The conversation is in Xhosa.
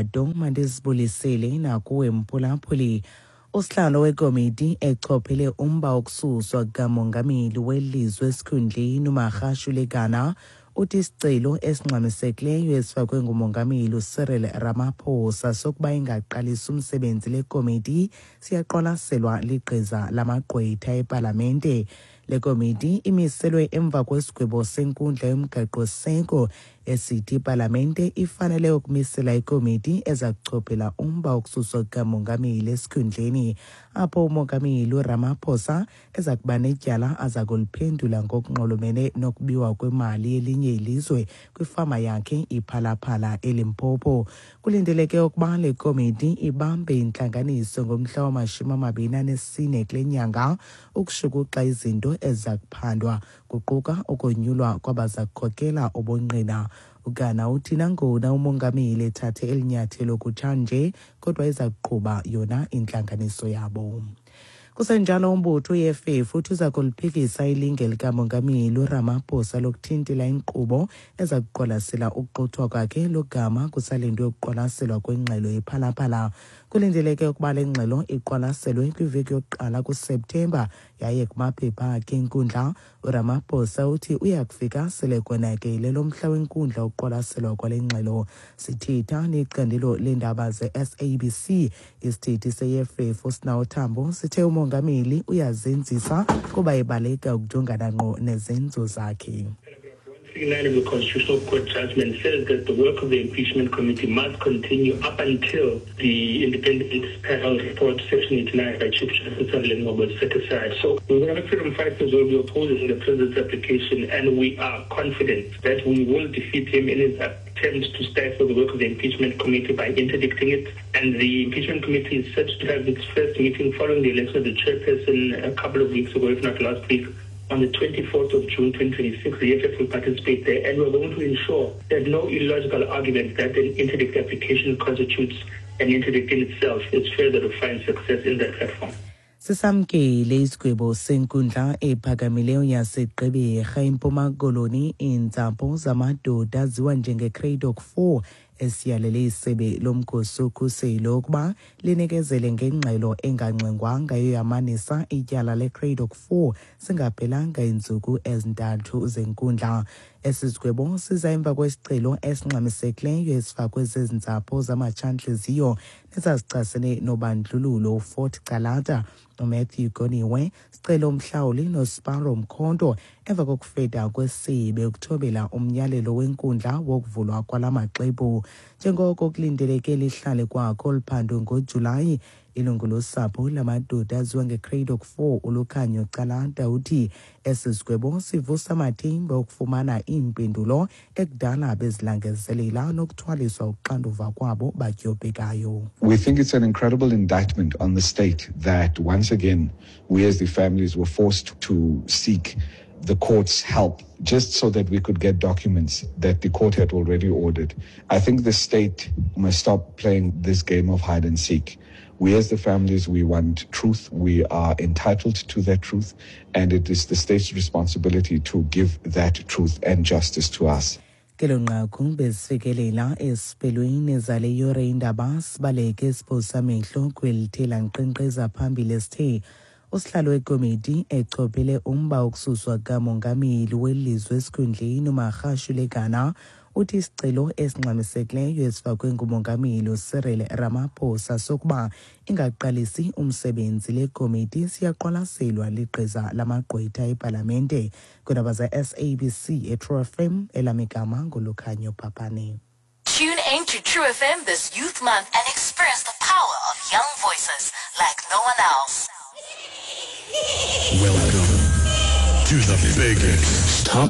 Nonto mandizibulisele nakuwe mphulaphuli. Usihlalo wekomiti echophele umba wokususwa kukamongameli welizwe esikhundleni uMagashule Gana uthi isicelo esingxamisekileyo esifakwe ngumongameli uCyril Ramaphosa sokuba ingaqalisi umsebenzi le komiti siyaqwalaselwa ligqiza lamagqwetha epalamente. Le komiti imiselwe emva kwesigwebo senkundla yomgaqo-siseko esithi ipalamente ifanele ukumisela ikomiti eza kuchophela umba wokususwa kukamongameli esikhundleni, apho umongameli uRamaphosa eza kuba netyala aza kuliphendula ngokunxulumene nokubiwa kwemali yelinye ilizwe kwifama yakhe iPhalaphala eLimpopo. Kulindeleke ukuba le komiti ibambe intlanganiso ngomhla wama-24 kule nyanga ukushukuxa izinto eziza kuphandwa, kuquka ukonyulwa kwabaza kukhokela ubungqina. UGana uthi nangona umongameli ethathe eli nyathelo kutshanje, kodwa iza kuqhuba yona intlanganiso yabo. Kusenjalo, umbutho uEFF uthi uza kuliphikisa ilinge likamongameli uRamaphosa lokuthintela inkqubo eza kuqwalasela ukuxuthwa kwakhe logama kusalindwe ukuqwalaselwa kwengxelo yePhalaphala. Kulindeleke ukuba le ngxelo iqwalaselwe kwiveki yokuqala kuSeptemba, yaye kumaphepha akhe enkundla uRamaphosa uthi uya kufika sele konakele lo mhla wenkundla ukuqwalaselwa kwale ngxelo. Sithetha necandelo leendaba ze-SABC, isithethi se-EFF uSinawo Thambo sithe umongameli uyazenzisa kuba ebaleka ukujongana ngqo nezenzo zakhe. 9 of the Constitutional Court judgment says that the work of the impeachment committee must continue up until the independent panel report, Section 89 by Chief Justice Ngcobo, was set aside. So the Economic Freedom Fighters will be opposing the president's application, and we are confident that we will defeat him in his attempt to stifle the work of the impeachment committee by interdicting it. And the impeachment committee is set to have its first meeting following the election of the chairperson a couple of weeks ago, if not last week. On the 24th of June 2026, the EFF will participate there, and we're going to ensure that no illogical argument that an interdict application constitutes an interdict in itself is further to find success in that platform. Sisamkele isigwebo senkundla ephakamileyo yaseGqeberha eMpuma Koloni iintsapho zamadoda aziwa njengeCradock 4 esiyalele isebe lomkhosi wokhuselo ukuba linikezele ngengxelo engangxengwanga yoyamanisa ityala leCradock 4 zingaphelanga iintsuku ezi-3 zenkundla. Esi sigwebo siza emva kwesicelo esingxamisekileyo esifakwe zezi ntsapho zamatshantliziyo nezazichasene nobandlululo uFort Calata, uMatthew Goniwe, Sicelo Mhlawuli noSparrow Mkhonto emva kokufeda kwesebe ukuthobela umyalelo wenkundla wokuvulwa kwala maxwebhu. Njengoko kulindeleke lihlale kwakho oluphando ngoJulayi, ilungu losapho lamadoda aziwa ngeCradock 4 uLukhanyo Calata uthi esi sigwebo sivusa amathemba okufumana iimpendulo ekudala bezilangazelela nokuthwaliswa uxanduva kwabo badyobhekayo. We think it's an incredible indictment on the state that once again we as the families were forced to seek the court's help just so that we could get documents that the court had already ordered. I think the state must stop playing this game of hide and seek. We as the families, we want truth. We are entitled to that truth, and it is the state's responsibility to give that truth and justice to us. Kelo nqaku bezifikelela esiphelweni zale yure indaba. Sibaleke siphosa amehlo kwelithe lankqenkqeza phambili esithe usihlalo wekomiti echophele umba wokususwa kukamongameli welizwe esikhundleni uMagashule Gana uthi isicelo esingxamisekileyo esifakwe ngumongameli uCyril Ramaphosa sokuba ingaqalisi umsebenzi le komiti siyaqwalaselwa ligqiza lamagqwetha epalamente. Kwiindaba ze-SABC eTrue FM, elamigama nguLukhanyo Papane. Tune in to True FM this Youth Month and experience the power of young voices like no one else. Welcome to the biggest top